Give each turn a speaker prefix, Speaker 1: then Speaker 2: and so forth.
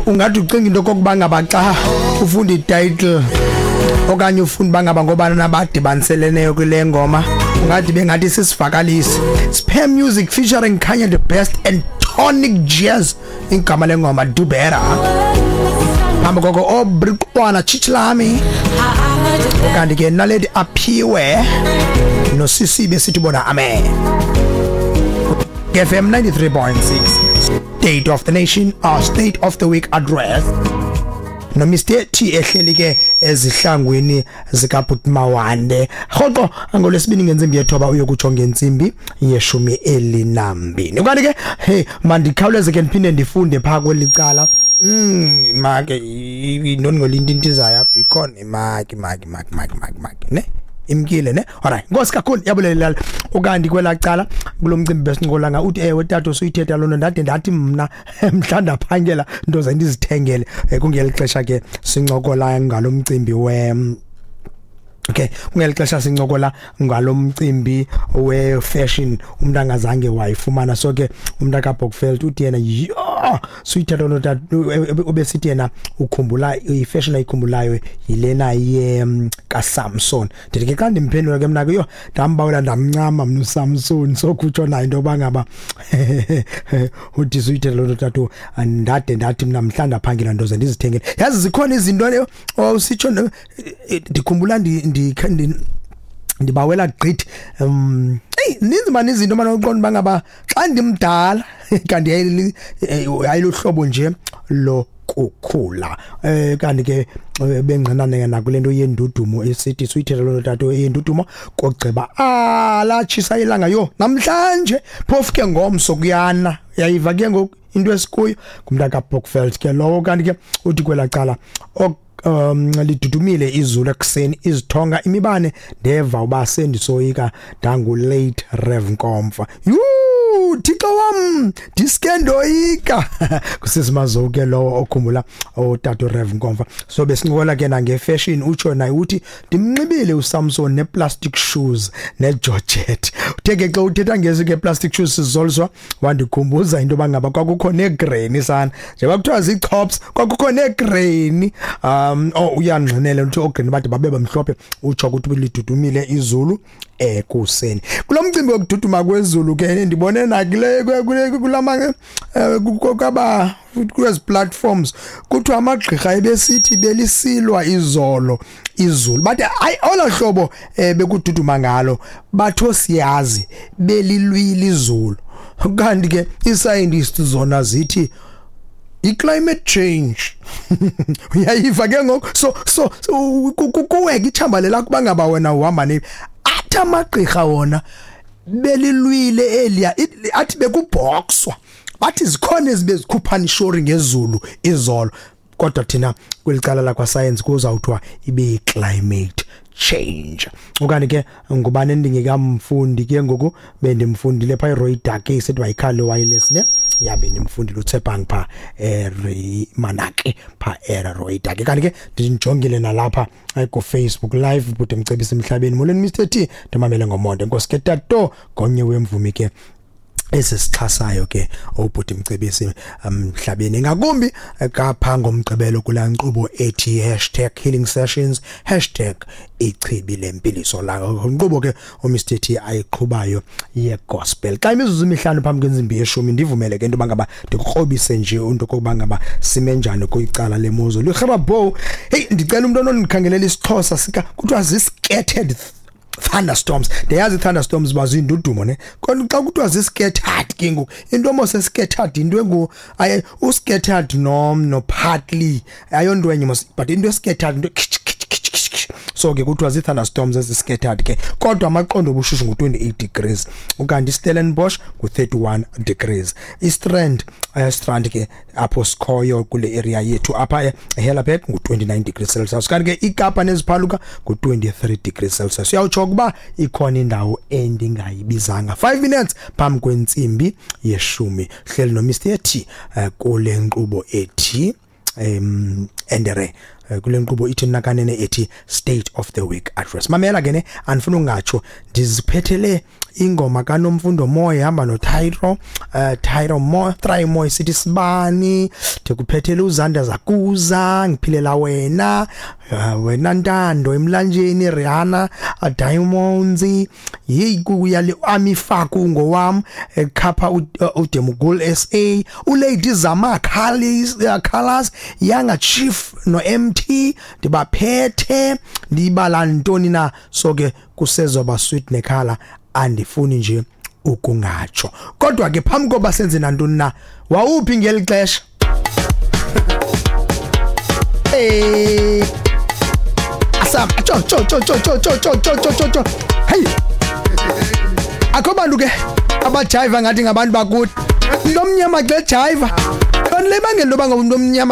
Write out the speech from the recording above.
Speaker 1: Ungathi ucinga into kokuba ngaba xa ufunda ititle okanye ufunda bangaba ngobana nabadibaniselene kule ngoma, ungathi bengathi sisivakalisi. Spare Music featuring Kanye the Best and Tonic Jazz, igama lengoma Do Better. Phambi koko Obriqwana Chichlami, kanti ke Naledi Aphiwe noSisibe sithi bona amen. FM 93.6, State of the Nation or State of the Week address no Mr T ehleli ke ezihlangwini zikaBhut Mawande rhoqo ngolwesibini ngentsimbi yethoba uyokutsho ngentsimbi ye-12. Kanti ke hey, mandikhawuleze ke ndiphinde ndifunde phaa kweli cala. Make intoni ngolintintizayo apha ikhona imaki maki maki maki maki maki ne imkile ne. Alright, nkosi kakhulu, yabulela. Ukanti kwelaa cala kulo mcimbi besincokola, uthi ewe tata, usuyithetha loo nto, ndade ndathi mna mhla ndaphangela nto ze ndizithengele. Kungeli xesha ke sincokola ngalo mcimbi we Okay, kungeli xesha sincokola ngalo mcimbi we-fashion umuntu angazange wayifumana. So ke umuntu kaBokfeld uthi yena, yho, suyithetha loo tata, ubesithi yena ukhumbula i-fashion ayikhumbulayo yilena ye kaSamson. Ndithi ke xa ndimphendula ke mna ke, yho, ndambawela ndamncama mna uSamson. So kutsho nayo into yoba ngaba uthi suyithetha loo nto tata, ndade ndathi mna mhla ndaphangela nto ze ndizithengele. Yazi zikhona izinto owawusitsho, ndikhumbula ndibawela gqithi. Hey, ninzi mani izinto manje uqonda bangaba xa ndimdala, kanti ayiluhlobo nje lo kukhula. Kanti ke bengqinane nakule nto yendudumo esithi suyithetha loo nto tata, yendudumo kogqiba latshisa ilanga yo namhlanje, phofu ke ngomso kuyana. Uyayiva ke ngoku into esikuyo ngumntu kaBokfeld ke lowo. Kanti ke uthi kwelaa cala lidudumile izulu ekuseni, izithonga imibane, ndeva uba sendisoyika ndangu late Rev Nkomfa. Yhu, Thixo wam, ndiske ndoyika. Kusisimazo ke lowo okhumbula utata Rev Nkomfa. So besincokola ke nangefashion, utsho naye uthi ndimnxibile uSamson neplastic shoes negeorgette. Uthe ke xa uthetha ngezi ke plastic shoes, sizoliswa, wandikhumbuza into yoba ngaba kwakukho negranny sana, njengoba kuthiwa zii-chops, kwakukho negranny. Oh, uyangqinela uthi oogranny bade babe bamhlophe. Utsho ukuthi lidudumile izulu ekuseni. Kulo mcimbi wokududuma kwezulu ke, ndibone nakule kulama kwaba kwezi platforms kuthiwa amagqirha ebesithi belisilwa izolo izulu, bathi hayi, olo hlobo bekududuma ngalo, batho siyazi belilwile izulu. Kanti ke ii-scientists zona zithi i-climate change. Uyayiva ke ngoku. So kuweke ithamba lelakho bangaba wena uhamba ne athi amagqirha wona belilwile eliya, athi bekubhoxwa, bathi zikhona ezibe zikhuphana ishori ngezulu izolo, kodwa thina kwelicala lakwa science kuzawuthiwa ibe climate change. Okanye ke ngubani endingekamfundi ke ngoku? Bendimfundile phaa iRoy Dake, sithi wayikhale wireless ne, yabe ndimfundile uTshepang pha eRimanake pha eRoy Dake. Kanti ke ndinjongile nalapha ku Facebook Live, bude mcebisi emhlabeni, molweni Mr T, ndimamele ngomonde, enkosi ke tato. Ngomnye wemvumi ke esisixhasayo ke ubhuti Mcebisi emhlabeni, ngakumbi kapha ngomgqibelo kulaa nkqubo ethi #HealingSessions #IchibiLempiliso, la nkqubo ke uMr T ayiqhubayo ye-gospel. Xa imizuzu 5 phambi kwentsimbi yeshumi, ndivumele ke into yoba ngaba ndikukrobise nje into okokuba ngaba sime njani kwicala lemozulu. Irhababo, hey, ndicela umntu onondikhangelela isiXhosa sika kuthiwa zii-scattered thunderstorms. Ndiyazi i-thunderstorms bazindudumo ne, kodwa xa kuthiwa zi-scattered ke ngoku, into mos scattered into engu u-scattered no partly ayonto enye mos, but into scattered into kitch, kitch, kitch, kitch, kitch. So ke kuthiwa zii-thunderstorms ezi-scattered ke, kodwa amaqondo obushushu ngu-28 degrees, ukanti iStellenbosch ngu-31 degrees, iStrand, Strand ke apho sikhoyo kule area yethu apha eHellerberg, ngu-29 degrees Celsius, kanti ke iKapa neziphaluka ngu-23 degrees Celsius. Uyawutsho ukuba ikhona indawo endingayibizanga. 5 minutes phambi kwentsimbi yeshumi, hleli no Mr T kule nkqubo ethi endere. Kule nkqubo ithi nakanene ethi State of the Week Address. Mamela ke ne, andifuna ungatsho, ndiziphethele ingoma kaNomfundo Moyo ihamba noTyro, Tyro Mo, Try Mo, sithi sibani. Ndikuphethele uZanda Zakuza, ngiphilela wena, wena Ntando emlanjeni, Rihanna, Diamonds, yeyi kuya le Amifaku ngowam, ekhapha uDemugul SA, uLady Zama Colors, Colors Yanga Chief no MT, ndibaphethe ndibala ntoni na. So ke kusezoba sweet nekhala, andifuni nje ukungatsho. Kodwa ke phambi koba senze nantoni na, wawuphi ngeli xesha? Hey, asam cho cho cho cho cho cho cho cho cho cho cho. Hey, akho bantu ke abajiva ngathi ngabantu bakuthi. Umntu omnyama xa ejiva, kanti le bangela into yoba ngumntu omnyama.